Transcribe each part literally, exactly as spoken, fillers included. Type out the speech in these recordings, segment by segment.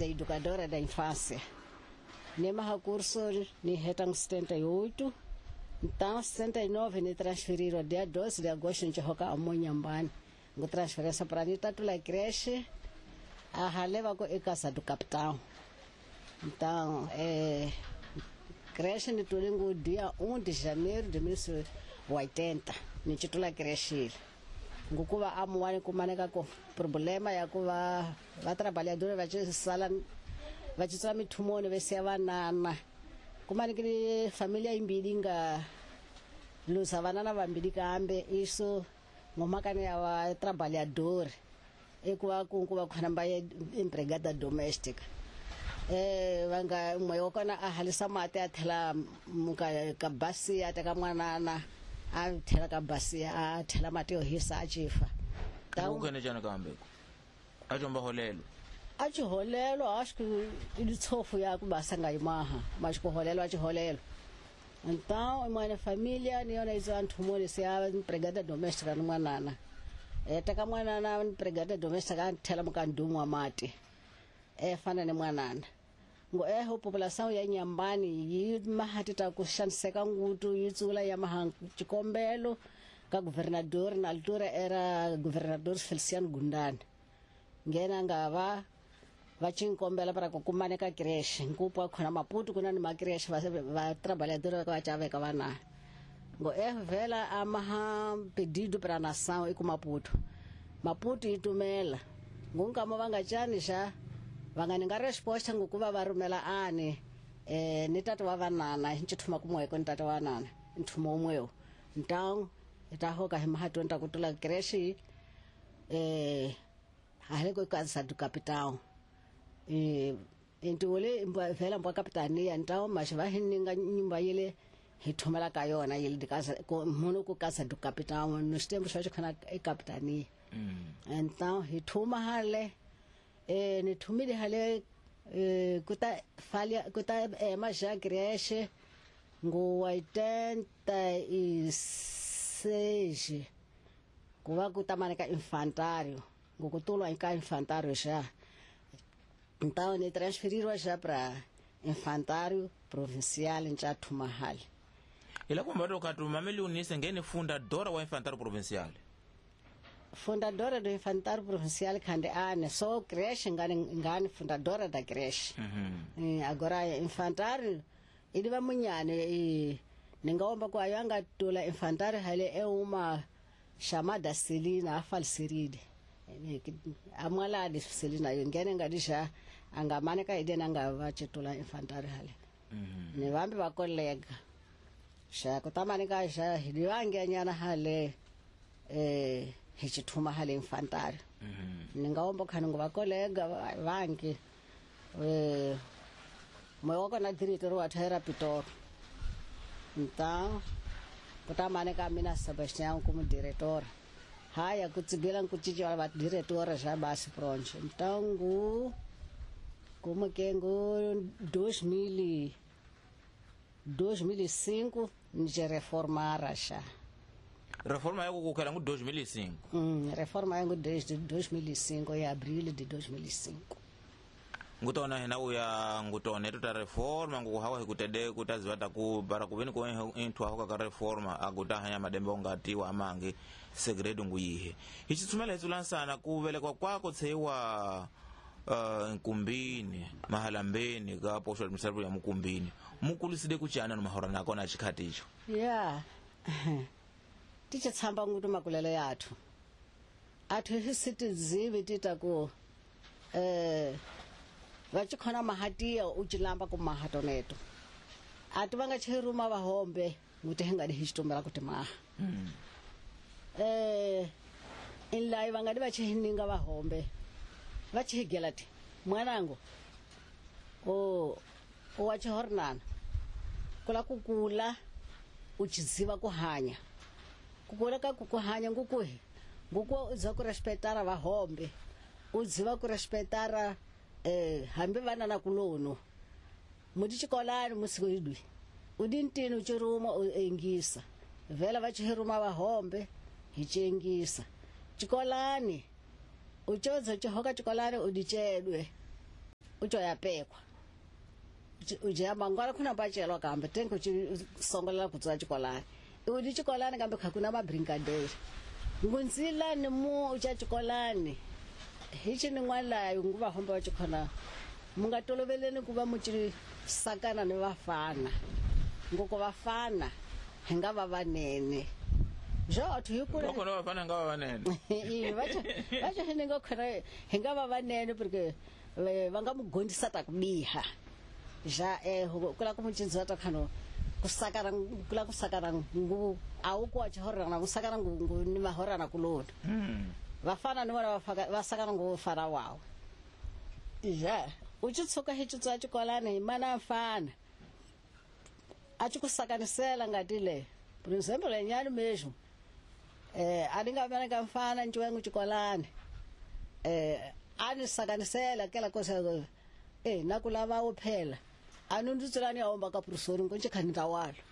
da educadora da infância. Nemaha curso ni heta em setenta e oito. Então, setenta e nove ni transferiram dia doze de agosto nchi hoka amonhambani. Ngo transferência para ni tatula creche a haleva ko e casa do capitão. Então, é creche ni tulingo dia um de janeiro de mil novecentos e oitenta, ni titula creche. Ngokuva amuwani kumaneka ko problema ya kuva va trabalhadora va sala va tsala mithumoni ve siya vanana. Kumanekile familia imbili nga lusa vanana vambili kambe isso ngomakane ya va trabalhador ekuva kunkuva khona mba empregada doméstica. Eh vanga moyo kona a halisa mate a thela muka ka basi a teka mwanana a thela ka basi a thela mate yo hisa a chifa. Ukene jana kambe a jomba holelo a chiholelo acho que ilitsofu ya kubasa ngayimaha mas kuholelo a chiholelo. Então mwana familia ni yona izo anthumoni siya empregada doméstica mwanana e teka mwanana empregada doméstica a thela muka ndumu wa mate e fana ne mwanana. Ngo eho população ya Inhambane yi mahatita ku xaniseka ngutu yi tsula ya maha xikombelo ka governador na altura era governador Feliciano Gundani. Ngena nga va va xikombela para ku kumaneka creche nkupa khona Maputo kuna ni ma creche va va trabalhador va chaveka vana. Ngo eho vela a maha pedido para nação e ku Maputo. Maputo itumela ngunkamo va nga chani xa va nga resposta ngokuva va rumela ani eh ni tata wa vanana nchithuma kumweko ni tata wa vanana nthumo umwewo. Então ita hoka hi mahatonta kutula creche eh haleko casa do capitão eh intole vela mbwa capitania. Então mas va hininga nyumba yele hi thumela ka yona yele de casa muno ku casa do capitão nos tempos só khona e capitania. Então hi thuma hale eh ni thumile hale eh kuta falha kuta é mas já creche ngo oitenta e seis kuva kuta infantário ngo kutulwa ka infantário já. Então ni transferiram já para infantário provincial em Chatumahal. Ila kumba to mameli unise ngene fundadora wa infantário provincial. Fundadora do infantário provincial khande ane só creche ngane ngane fundadora da creche. Uhum. Agora infantário ele vai munhane e ningaomba kwa yanga tula infantário hale é uma chamada Celina a falsiride. Amala de Celina ngene ngadisha angamane ka ide nanga va chitula infantário hale. Uhum. Ne vambi va colega. Xa kutamane ka xa hidiwange nyana hale eh hichithuma hale infantário. Ningaomba khani ngo va colega vangi eh moyo kona diretor wa thera Pitor. Então kutamane ka mina Sebastião como diretor. Haya kutsigela nkuchicha va diretora já basi pronto. Então ngu como que ngu dois mil e cinco nje reformara xa. Reforma yako kukhala ngu dois mil e cinco. Hum, reforma yangu desde dois mil e cinco em abril de dois mil e cinco. Ngutona hina uya ngutone tuta reforma ngu hawa hikutede kutazivata ku bara kubeni ko intwa hoka ka reforma aguta hanya madembe ongatiwa amange segredo nguyihe. Hichitsumela hitsulansana kuvelekwa kwako tseiwa uh, nkumbini mahalambeni ka posho administrative ya mukumbini. Mukuliside kuchana no mahora nako na chikhati icho. Yeah. Ticha tsamba ngutu makulele yathu. Athu hisitizivi tita ku eh vachikhona mahatia uchilamba ku mahatoneto. Atu vanga chiruma vahombe nguti hingadi hichitombela kuti maha. Mm. Eh inlai vangadi vachihininga vahombe. Vachihigelati mwanangu o o wachihornana kula kukula uchiziva kuhanya. Kukula ka kukuhanya ngukuhi nguku uziva kurespetara vahombe uziva kurespetara eh hambi vana na kulono mudichikolani musikuidwi udintini uchiruma uengisa vela vachihiruma vahombe hichengisa chikolani uchozo chihoka chikolani udichedwe uco ya pekwa uja mangwala kuna bachelwa kambe tengo songolela kutswa chikolani udi chikolani kambe khakuna mabrinkadeira ngunzila ni mu ucha chikolani hichi ni n'walayo nguva homba wa chikhona munga toloveleni ku va mu ci sakana ni vafana ngoko vafana hi nga va vanene jo thu hi kula loko no vafana nga va vanene i va va hi nga khona hi nga va vanene porque va nga mu gondisa ta ku biha ja eh kula ku mu cinza ta khano ku sakana kula ku sakana ngu a wu ku wa chihorana ku sakana ngu ni mahorana kulona vafana ni vona va sakana ngu fara wawo ja u tshi tshuka hi tshitswa tshikolani hi mana mfana a tshi ku sakanisela ngati le por exemplo lenyani mesmo eh a ni nga vana ka mfana ntshwengu tshikolani eh a ni sakanisela kela kosa eh na ku lava wo phela a ni ndzi tsela ni ya omba ka professor ngo nje khani ndawalo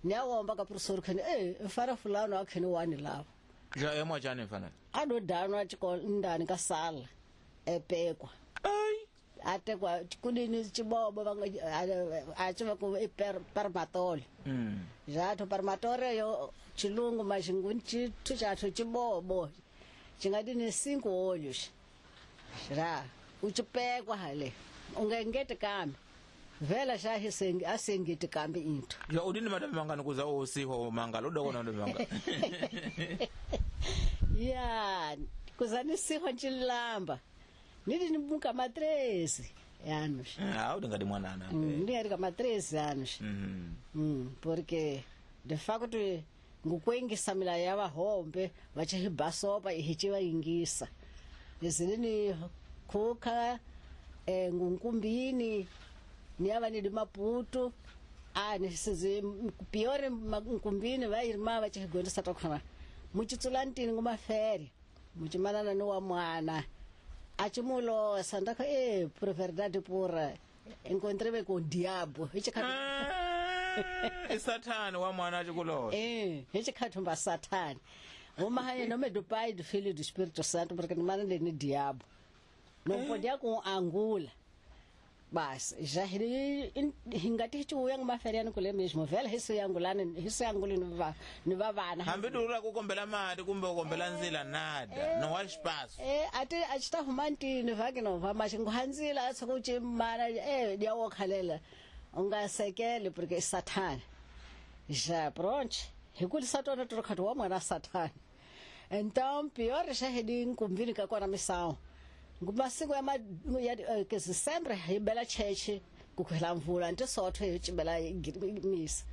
ni ya omba ka professor khani eh mfana fulano a khani wani lava ja emo jani mfana a do danwa tshikolo ndani ka sala epekwa ai atekwa kulini chibobo va a tshi va ku i parmatole mm ja tho parmatore yo chilungu maxingu chithu chathu chibobo chingati ni cinco olhos ra u chipekwa hale u nga engeti kambe vela xa hisengi a sengeti kambe into ja udini madame mangani kuza o siho mangalo udokona ndo manga ya kuza ni siho nchilamba nidi nibuka ma treze anos ah udingadi mwanana ndi ari ma treze anos mm mm porque de facto ngukwengisa mila ya vahombe vachihibasopa ihichivaingisa izinini khuka eh ngunkumbini niyava nidi Maputo a ni sizi piore nkumbini vairima vachihigondisa takhona muchitsulantini ngumafere muchimanana ni wa mwana a chimulosa ndakho eh por verdade pura encontrei com o diabo ah sathane wa mwana achikulosa eh hichikhathumba sathane uma haye nome do Pai do Filho e do Espírito Santo porque ni mana ni diabo não podia com angula bas já hingati hichu yang maferiano kule mesmo vela hisu yangulana hisu yanguli ni va ni va vana hambi dura ku kombela mati kumbe ku kombela ndzila nada no wa espaço eh ati achita humantini vake no va mashingu hanzila atsoku chimara eh dia wo khalela ungasekele porque sathane já pronto hikulisa tona trocado wa mwana sathane então pior já hedi nkumbini ka kona misawo ngumasiku ya ya ke sempre hi bela cheche ku khwela mvula nti sotho hi chibela misa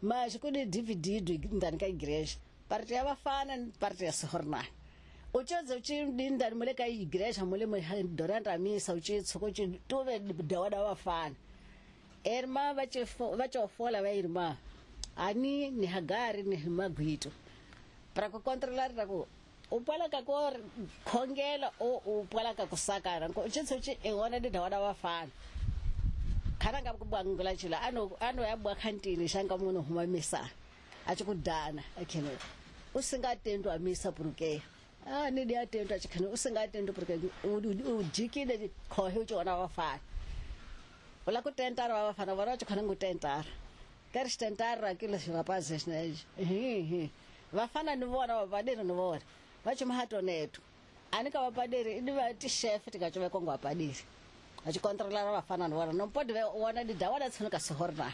mas ku di D V D ndani ka igreja parte ya vafana parte ya sihorna u tshedze u tshi ndani mule ka igreja mule durante a misa u tshi tshuko tshi tuve dawada vafana erma va tshi va tshi fola va irma ani ni hagari ni magwito para ku controlar ra ku u pwala ka ku khongela o u pwala ka ku sakana ko tshitsu tshi ewona ndi dawada vafana khana nga ku bangula tshila ano ano ya bwa khantini xanga munhu huma misa a tshi ku dana akhene u singa tendo a misa porque ah ni dia tendo a tshi u singa tendo porque u jikile khohe u tshona vafana ola ku tentara va vafana vona tshi khona ngu tentara queres tentar aquilo rapazes né hi hi vafana ni vona vapaderi ni vona va chimahato netu ani ka vapaderi ni va ti chef tikachove kongo vapaderi a chi controlar vafana ni vona no pode vona di dawada tshono ka sihorna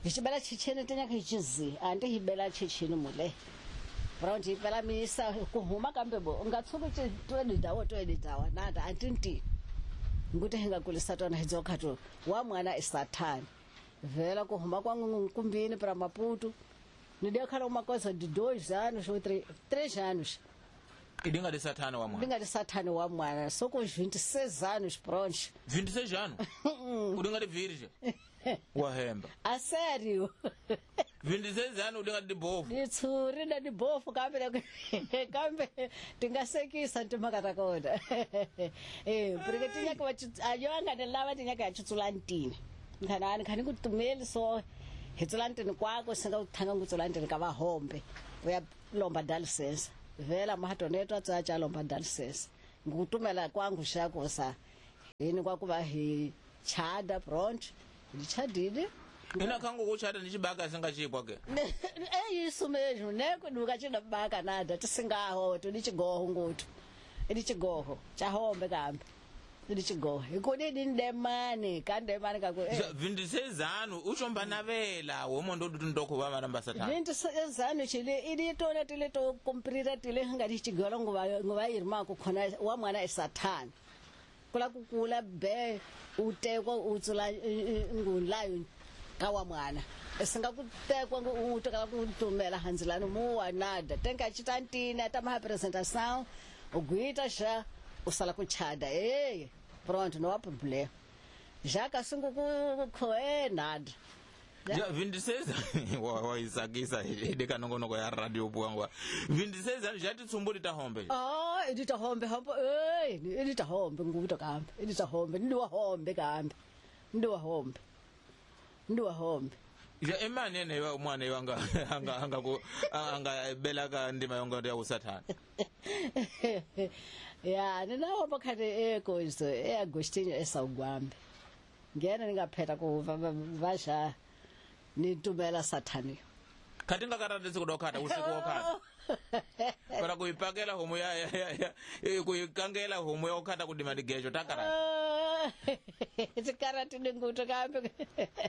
hi chibela chichene tenya ka chizi andi hi bela chichini mule brown hi bela misa ku huma kambe bo nga tshuku chi twe dawo twe dawa nada antinti nguti hi nga kulisa tona hi dzokhato wa mwana isathani vela ku huma kwa nkumbini para Maputo ni deu cara uma coisa de dois anos ou três, três anos. Idinga de sathane wa mwana. Idinga de sathane wa mwana, só com os vinte e seis anos pronto. vinte e seis anos? Udinga de virgem. Wahemba. A sério? vinte e seis anos udinga de bofu. Ni tsuri na de bofu kambe kambe tingasekisa ntimhaka ta kona. Eh, porque tinha que ayonga ne lava tinha que chutsula ntini. Nkhana ani khani ku tumeli so hi tsula ntini kwako singa u thanga ngu tsula ntini ka vahombe u ya lomba dalisense vela mahatoneto a tsaya cha lomba dalisense ngutumela kwangu xako sa Ini kwakuva hi chada pronto ndichadile. Ina kangu kuchada nichibaka singachipwa ke. É isso mesmo, né? Nunca tinha baka nada, tisingaho, tulichigoho ngutu. Ilichigoho, chahombe kambe. Ilichigoho. Ikoni ndemane, kandemane kako. vinte e seis anos, ushomba navela, womondo ndoko va maramba satana. vinte e seis anos chile, ilitona tile to comprira tile ngati chigolo nguva nguva irma kukhona wa mwana e satana. Kula kukula be utekwa utsula ngulayo kawa mwana. Singakutekwa utokala kutumela hanzilano muwa nada. Tenka chitantina tama apresentação, uguita já usala kuchada. Eh, pronto, não há problema. Já kasungu ku nada. Ja vinte e seis wa wa isakisa ideka nongonoko ya radio bwangwa. vinte e seis anos já titsumbuli ta hombe. Ah, idita hombe hombe. Eh, idita hombe nguto kambe. Idita hombe, ndiwa hombe kambe. Ndiwa hombe. Ndiwa hombe. Ja imani ene wa mwana wanga anga anga ku anga belaka ndima yonga ya usathana. Ya, ninawo bakati ekoizo e Agostinho esawugwambe. Ngena ningapheta ku vasha nitumela sathani. Kati ngakarata sikudokhata usiku wokhata. Para kuipakela homu ya ya ya kuikangela homu ya okhata kudima digejo takara. Tikarati ninguto kambe.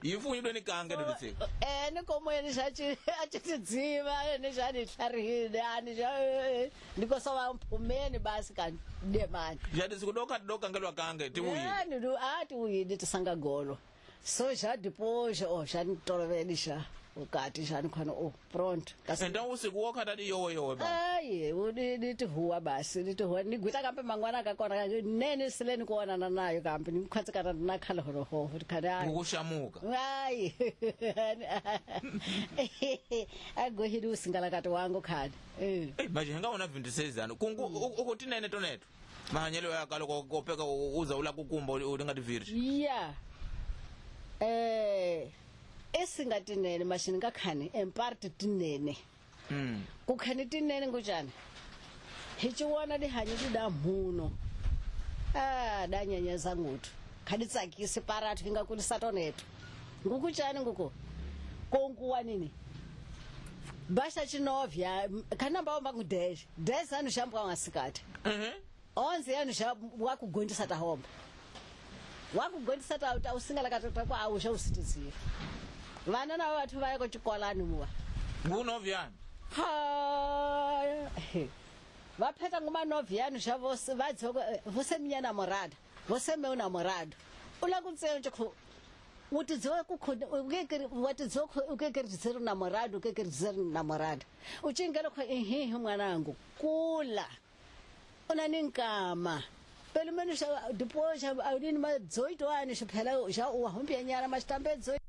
Yifunyidwe ni kange duditsika. Eh nikomweni xachi achitidziva ni xani hlarihile ani xa ndikosa mphumeni basi kan demani. Jadi sikudokhata dokangelwa kange tiwuyi. Eh ndu ati uyini tisanga golo. So já depois oh já nitoloveli xa ukati já nikhona oh pronto. Então usiku wokhata di yowe yowe ba. Ai nditihuwa basi nditihuwa nigwita kambe mangwana kakona nene sileni kuonana nayo kambe nikhwatsikana na khala horoho khana Ukushamuka. Ai agohidi usingalakati wangu khana. Eh Eh manje ngaona vinte e seis anos kungu ukutinene toneto. Mahanyelo yakalo kopeka uza ula kukumba ulinga divirge. Yeah. Eh esingatinene mashini ngakhani emparte tinene. Mm. Kukhani tinene ngujani. Hichiwana dihanyi dida muno. Ah danyanyeza ngutu. Khani tsakisi parathu ingakulisa toneto. Ngukuchani nguko. Konkuwa nini? Basha chinovya kana mbaomba ku dez. dez anos shambwa ngasikati. Mhm. onze anos wakugondisa tahomba. Wakugondisa ta usingala katata kwa ausha usitiziva. Vana navo vathu vaya kuchikolani muwa. Ngunovyani. Ha. Vaphetha ngumanovyani xa vose vadzoko vose minha namorada. Vose meu namorado. Ula kutseo nje utidziwe kukhona ukekeri watidziwe ukekeri dizer namorado ukekeri dizer namorada. Uchingela kwa ehe mwanangu kula. Una ninkama. Pelo menos depois alguém mais dezoito anos, já o arrumpianhara, mas também dezoito.